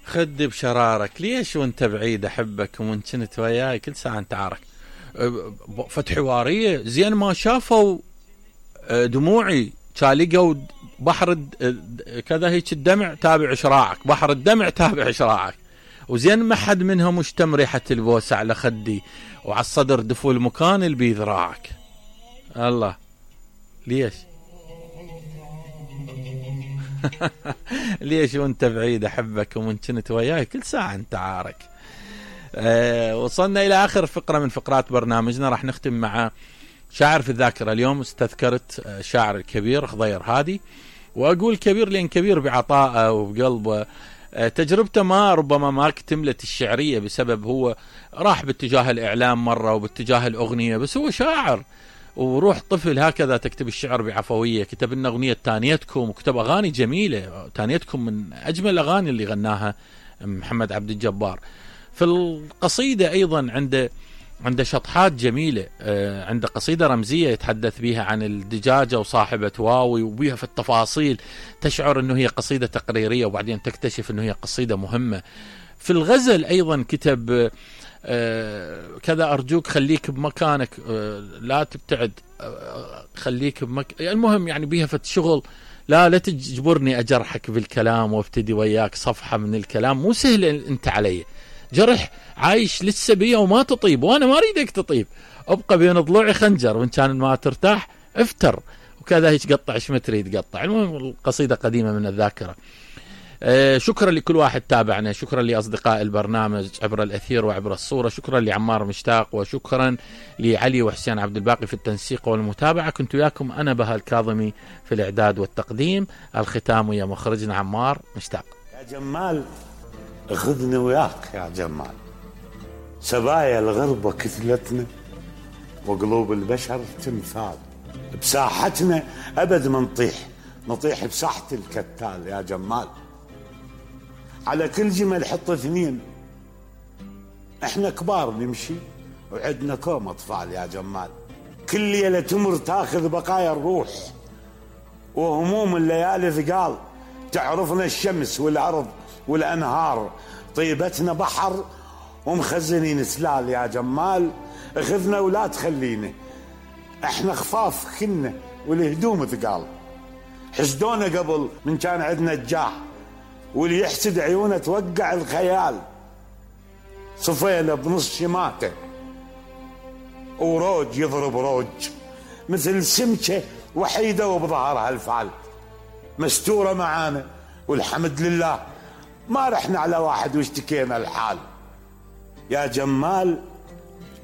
خدي بشرارك ليش وانت بعيد احبك ومن كنت وياي كل ساعة انت عارك. فت حوارية زين ما شافوا دموعي لقوا بحر كذا هيك الدمع تابع شراعك، بحر الدمع تابع شراعك، وزين ما حد منهم مشتم ريحة البوسة على خدي وعلى الصدر دفو المكان اللي بذراعك. الله ليش ليش وانت بعيد احبك ومن كنت وياي كل ساعة انت عارك. وصلنا الى اخر فقرة من فقرات برنامجنا، راح نختم مع شاعر في الذاكرة. اليوم استذكرت شاعر الكبير خضير هادي، واقول كبير لان كبير بعطائه وبقلبه. تجربته ربما ما اكتملت الشعرية بسبب هو راح باتجاه الاعلام مرة وباتجاه الاغنية، بس هو شاعر وروح طفل هكذا تكتب الشعر بعفوية. كتب لنا أغنية تانيتكم وكتب أغاني جميلة. تانيتكم من أجمل الأغاني اللي غناها محمد عبد الجبار. في القصيدة أيضا عنده شطحات جميلة. عنده قصيدة رمزية يتحدث بها عن الدجاجة وصاحبة واوي، وبيها في التفاصيل تشعر أنه هي قصيدة تقريرية وبعدين تكتشف أنه هي قصيدة مهمة. في الغزل أيضا كتب كذا أرجوك خليك بمكانك لا تبتعد، خليك المهم يعني بيها فت شغل. لا تجبرني أجرحك بالكلام وابتدي وياك صفحة من الكلام، مو سهل أنت علي، جرح عايش لسه بيا وما تطيب وأنا ما أريدك تطيب، أبقى بين ضلوعي خنجر وإن كان ما ترتاح افتر وكذا هيك قطع ايش ما تريد قطع. المهم القصيدة قديمة من الذاكرة. شكرا لكل واحد تابعنا، شكرا لأصدقاء البرنامج عبر الأثير وعبر الصورة، شكرا لعمار مشتاق، وشكرا لعلي وحسين عبد الباقي في التنسيق والمتابعة. كنت وياكم أنا بها الكاظمي في الإعداد والتقديم. الختام ويا مخرجنا عمار مشتاق. يا جمال خذني وياك يا جمال، سبايا الغربة كتلتنا وقلوب البشر تمثال، بساحتنا أبد ما نطيح بساحة الكتال يا جمال. على كل جمل حط اثنين، احنا كبار نمشي وعدنا كوم اطفال يا جمال. كل ليلة تمر تاخذ بقايا الروح وهموم الليالي ثقال، تعرفنا الشمس والارض والانهار، طيبتنا بحر ومخزنين سلال يا جمال. اخذنا ولا تخلينا، احنا خفاف كنا والهدوم ثقال، حسدونا قبل من كان عندنا الجاه، واللي يحسد عيونه توقع الخيال. صفينا بنص شماته وروج يضرب روج، مثل سمكة وحيدة وبظهرها الفعل، مستورة معانا والحمد لله، ما رحنا على واحد واشتكينا الحال. يا جمال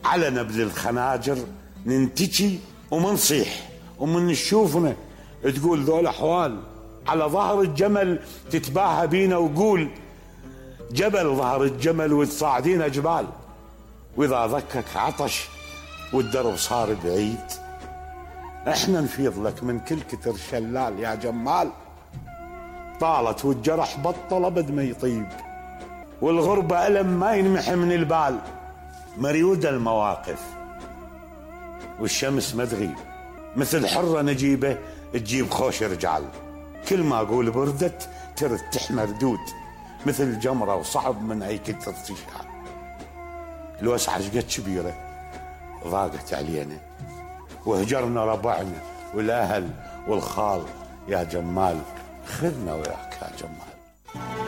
على نبذ الخناجر ننتجي ومنصيح، ومن نشوفنا تقول ذول احوال، على ظهر الجمل تتباهى بينا وقول جبل ظهر الجمل وتصاعدين جبال. واذا ذكك عطش والدرب صار بعيد، احنا نفيض لك من كل كتر شلال يا جمال. طالت والجرح بطل ابد ما يطيب، والغربة ألم ما ينمحي من البال. مريودة المواقف والشمس ما تغيب، مثل حرة نجيبة تجيب خوش رجال. كل ما اقول بردت ترد تحمر دود، مثل جمرة وصعب من اي كتر تشعل. الوسعة قد كبيرة ضاقت علينا، وهجرنا ربعنا والاهل والخال يا جمال. خذنا وياك يا جمال.